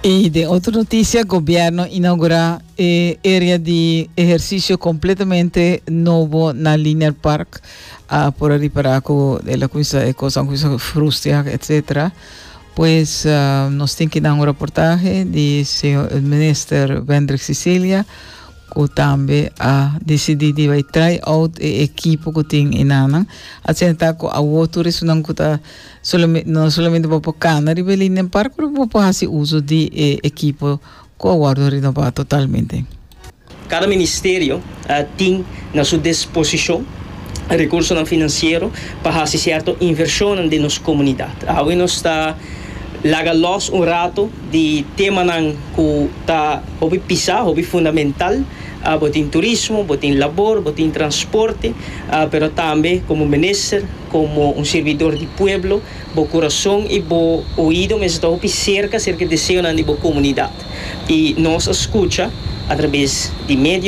I den otro notisia, Gobièrnu a inougurá e area di ehersisio kompletamente nobo na Linear Park. A por a ripará ku el a kuminsá e kosnan a kuminsá frustia etsetera. Pues nos tin ki nan un raportahe di señor minister Wendrick Cicilia ku tambe a disidí di bai try out e ekipo ku tin enanan. Asina ta ku awor tur esunnan ku ta Solamente, no solamente bo por cana riba e Linden Park, pero bo por haci uso di e equipo cu a wordo renova totalmente. Kada ministerio tin na su disposishon rekursonan finansiero pa hasi sierto invershonnan den nos komunidat. Awe nos ta laga lòs un rato di temanan ku ta hopi pisá, hopi fundamental. Bo tin turismo, bo tin labor, bo tin transporte, pero tambe komo minister, Komo un sirbidor di pueblo, bo kurason i bo oido mester ta hopi serka serka e deseonan di bo komunidat. I nos a skucha atrabes di medio.